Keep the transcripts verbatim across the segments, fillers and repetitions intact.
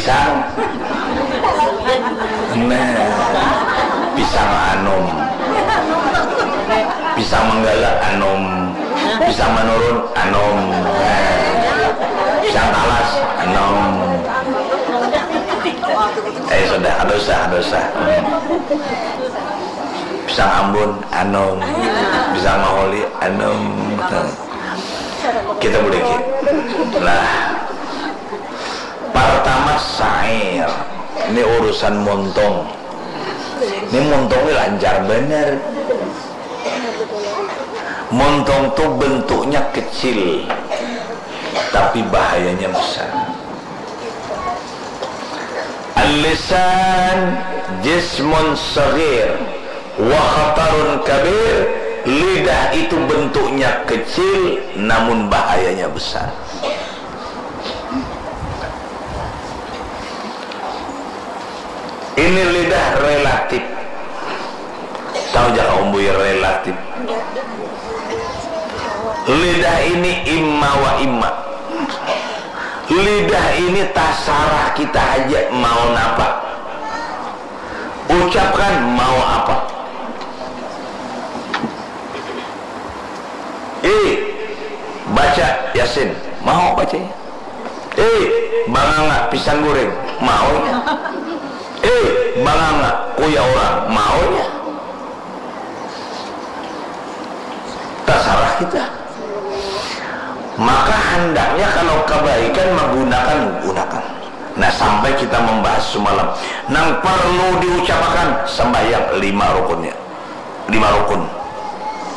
Pisang. Nah, pisang anum. Pisang manggala anum. Pisang manurun anum. Nah, pisang talas anum. Eh, sudah, kada usah, kada usah. Hmm. Pisang ambun anum. Pisang maholi anum. Kita buliki. Nah, pertama, syair. Ini urusan muntung. Ini muntung ini lancar bener. Muntung tu bentuknya kecil, tapi bahayanya besar. Al-lisan jismun saghir wa khatarun kabir. Lidah itu bentuknya kecil, namun bahayanya besar. Ini lidah relatif. Tahu ja kaum buya relatif? Lidah ini imma wa imma. Lidah ini tasarah kita haja mau napa. Ucapkan mau apa. Eh, baca Yasin, mau bacanya. Eh, banganga pisang goreng, maunya. Eh, banganga kuya orang, maunya. Tasarah kita. Maka handaknya kalau kebaikan menggunakan, gunakan. Nah, sampai kita membahas semalam, nang perlu diucapakan sembahyang lima rukunnya. Lima rukun.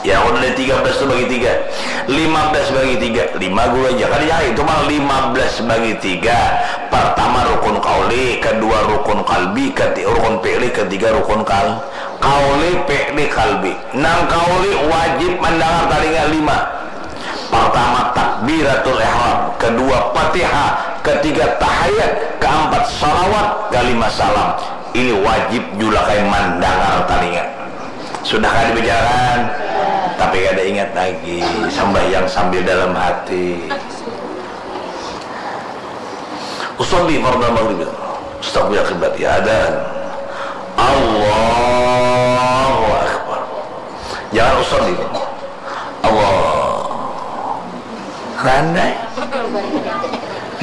Ya, kalau dari tiga belas tu bagi tiga. Lima belas bagi tiga. Lima guru aja. Kada jang itu mah lima belas bagi tiga. Pertama rukun kauli, kedua rukun kalbi, keti-, rukun fi'li, ketiga rukun kal-, kauli, fi'li, kalbi. Nang kauli wajib mandangar talinga lima. Pertama takbiratul ihram, kedua Fatihah, ketiga tahiyat, keempat salawat, kelima salam. Ini wajib julakai mandangar talinga. Sudah kada dibicarakan, tapi kada ingat lagi. Sambahyang sambil dalam hati. Usalli fardal maghrib. Istaqbil qiblat. Ya, adan. Allahu Akbar. Jangan usalli. Allah. Randai.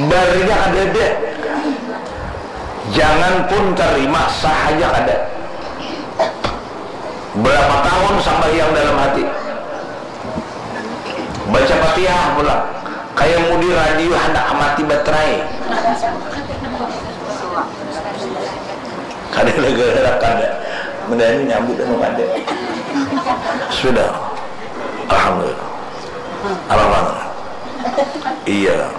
Barinya kadada. Jangan pun terima, sah aja kada. Berapa tahun sambahyang dalam hati? Baca Fatihah pulang. Kayak mudi radio handak mati baterai. Kada gara-gara kada. Mendani nyambut anu kada. Sudah. Alhamdulillah. Alhamdulillah. Iya.